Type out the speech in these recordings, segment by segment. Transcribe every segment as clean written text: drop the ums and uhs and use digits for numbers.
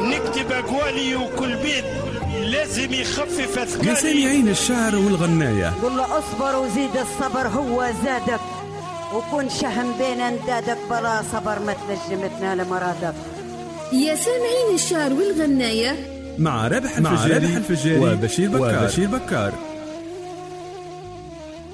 نكتب أقوالي وكل بيت لازم يخفف أثقالي. يا سامعين الشعر والغناية، قل له اصبر وزيد الصبر هو زادك، وكن شهم بين اندادك، بلا صبر ما تنجم تنال مرادك. يا سامعين الشعر والغناية مع رابح الفجاري وبشير بكار.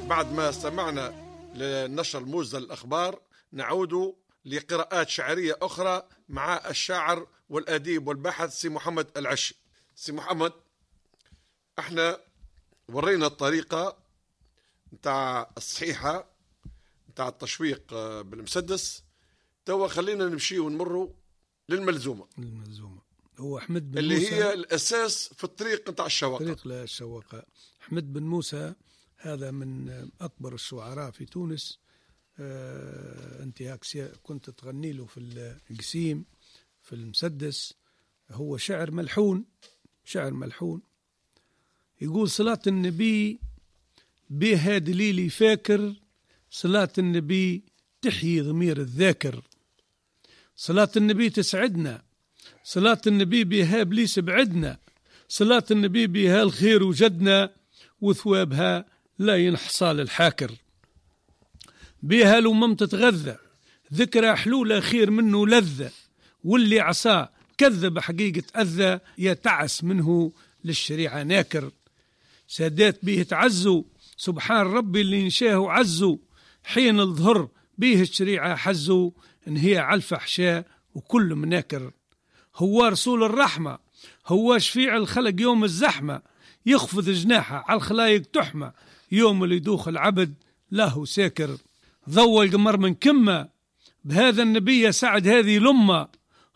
بعد ما استمعنا للنشر الموجز للأخبار، نعود لقراءات شعرية أخرى مع الشاعر والأديب والباحث سي محمد العشي. سي محمد، احنا ورينا الطريقة نتاع الصحيحة نتاع التشويق بالمسدس، توا خلينا نمشي ونمروا للملزومة. الملزومة هو أحمد بن اللي موسى، هي الأساس في الطريق نتاع الشواقة. طريق للشواقة. أحمد بن موسى هذا من أكبر الشعراء في تونس. أنت كنت تغني له في القسيم في المسدس. هو شعر ملحون، شعر ملحون. يقول صلاة النبي بها دليلي فاكر، صلاة النبي تحيي ضمير الذاكر، صلاة النبي تسعدنا، صلاة النبي بها بليس بعدنا، صلاة النبي بها الخير وجدنا، وثوابها لا ينحصى للحاكر، بها الأمم تتغذى، ذكرى حلولة خير منه لذة، واللي عصاه كذب حقيقة أذى، يتعس منه للشريعة ناكر، سادات به تعزوا، سبحان ربي اللي نشاه عزوا، حين الظهر به الشريعة حزوا، إن هي على الفحشاء وكل مناكر، هو رسول الرحمة، هو شفيع الخلق يوم الزحمة، يخفض جناحه على الخلايق تحمى، يوم اللي يدوخ العبد له ساكر، ضوى القمر من كمة، بهذا النبي سعد هذه لمة،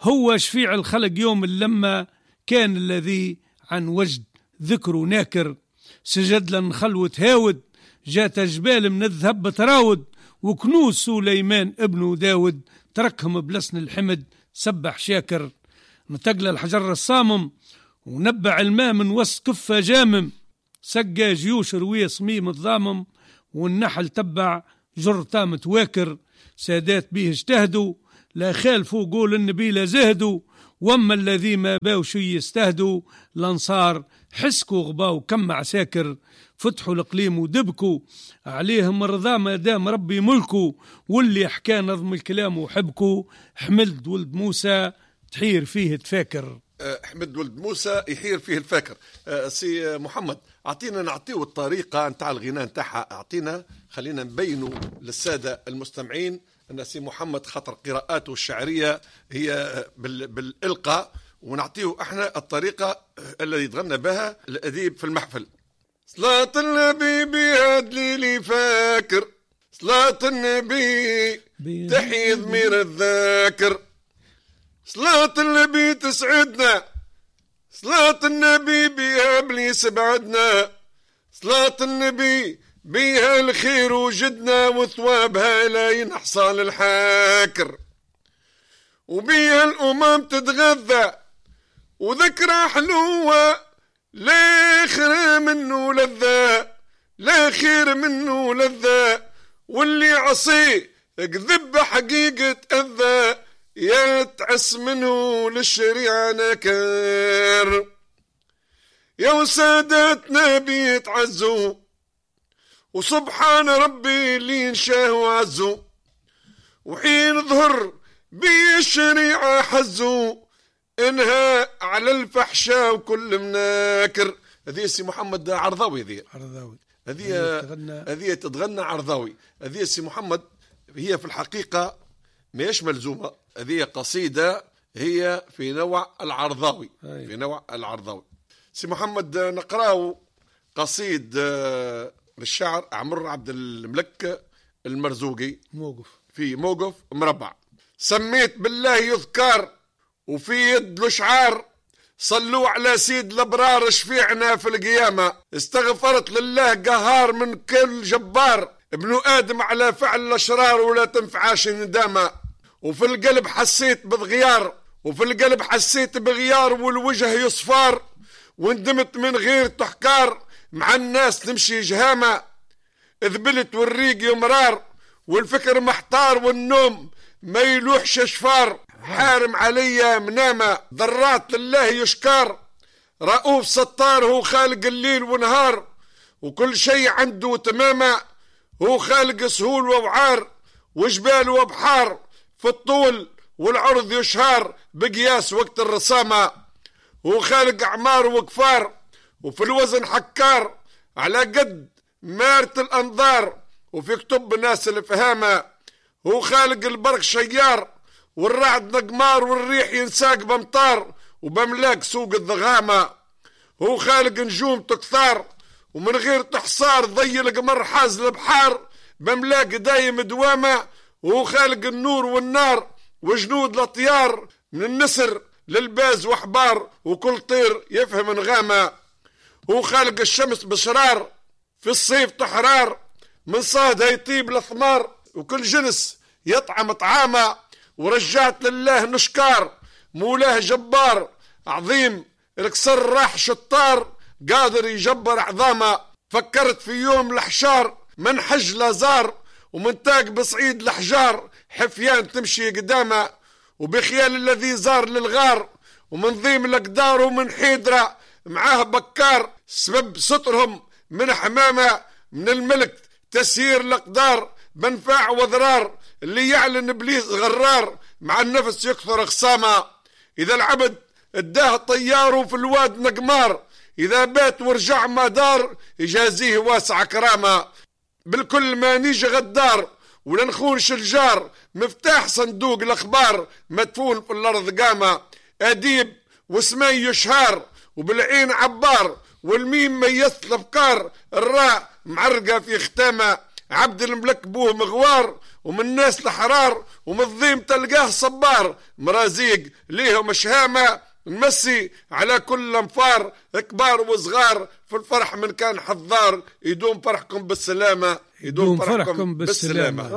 هو شفيع الخلق يوم اللمة، كان الذي عن وجد ذكره ناكر، سجد لنخل وتهاود، جات جبال من الذهب تراود، وكنوز سليمان ابن داود، تركهم بلسن الحمد سبح شاكر، نتقل الحجر الصامم، ونبع الماء من وسط كفة جامم، سقى جيوش روية صميم الضامم، والنحل تبع جرتا متواكر، سادات به اجتهدوا، لا خالفوا قول النبي لا زهدوا، واما الذي ما باو شي يستهدوا، الانصار حسكوا غباو كم عساكر، فتحوا القليم ودبكوا عليهم الرضا ما دام ربي ملكوا، واللي حكى نظم الكلام وحبكوا، حمد ولد موسى تحير فيه تفاكر. حمد ولد موسى يحير فيه الفاكر. سي محمد، اعطينا نعطيو الطريقة نتاع الغناء نتاعها، اعطينا خلينا نبينوا للسادة المستمعين أن سي محمد خاطر قراءاته الشعرية هي بالإلقاء، ونعطيه احنا الطريقة التي يتغنى بها الأديب في المحفل. صلاة النبي بها دليلي فاكر، صلاة النبي تحيي ضمير الذاكر، صلاة النبي تسعدنا، صلاة النبي بها بليس بعدنا، صلاة النبي بها الخير وجدنا، وثوابها لا ينحصى للحاكر، وبها الأمم تتغذى، وذكرى حلوة لا خير منه لذة، لا خير منه لذة، واللي عصي كذب حقيقة أذى، يتعس منه للشريعة نكر، يا وسادتنا بيتعزوا، وسبحان ربي اللي نشاه وعزو، وحين ظهر بالشريعة حزو، انها على الفحشاء وكل مناكر. هذه سي محمد عرضاوي، هذه عرضاوي، هذه تتغنى عرضاوي. هذه سي محمد هي في الحقيقة ماهيش ملزومة، هذه قصيدة هي في نوع العرضاوي. في نوع العرضاوي. سي محمد نقراو قصيد للشاعر عمر عبد الملك المرزوقي، موقف في موقف مربع. سميت بالله يذكر وفي يد الشعار، صلوا على سيد الابرار شفيعنا في القيامة، استغفرت لله قهار من كل جبار، ابن آدم على فعل الأشرار ولا تنفعاش الندامة، وفي القلب حسيت بغيار، وفي القلب حسيت بغيار والوجه يصفار، وندمت من غير تحكار، مع الناس نمشي جهامة، ذبلت والريق يمرار، والفكر محتار والنوم ما يلوحش شفار. حارم عليا منامة، ذرات لله يشكار، رؤوف ستار هو خالق الليل ونهار، وكل شيء عنده تمامة، هو خالق سهول ووعار وجبال وبحار، في الطول والعرض يشهار بقياس وقت الرسامة، هو خالق أعمار وكفار وفي الوزن حكار، على قد مارة الأنظار وفي كتب ناس الفهامة، هو خالق البرق شيار والرعد نقمار والريح ينساق بمطار وبملاك سوق الضغامة، هو خالق نجوم تكثار ومن غير تحصار ضي القمر حاز البحار بملاك دايم دوامة، وهو خالق النور والنار وجنود الأطيار من النسر للباز وحبار وكل طير يفهم نغامة، هو خالق الشمس بشرار في الصيف تحرار من صادها يطيب الثمار وكل جنس يطعم طعامة، ورجعت لله نشكار مولاه جبار عظيم الكسر راح شطار قادر يجبر عظامه، فكرت في يوم الحشار من حج لازار ومن تاق بصعيد الحجار حفيان تمشي قدامه، وبخيال الذي زار للغار ومن ضيم الأقدار ومن حيدرة معاه بكار، سبب سترهم من حمامة من الملك تسيير الأقدار بنفاع وضرار، اللي يعلن إبليس غرار مع النفس يكثر خصامة، إذا العبد اداه طياره في الواد نقمار، إذا بات ورجع ما دار يجازيه واسع كرامة، بالكل ما نيجي غدار ولا نخونش الجار، مفتاح صندوق الأخبار مدفون في الأرض قامة، أديب واسمي يشهار وبالعين عبار والميم ميزت الأفكار، الراء معرقة في ختامة، عبد الملك بوه مغوار ومن الناس الحرار ومن الضيم تلقاه صبار، مرازيق ليهم شهامة نمسي على كل انفار كبار وصغار، في الفرح من كان حضار، يدوم فرحكم بالسلامة، يدوم فرحكم بالسلامة.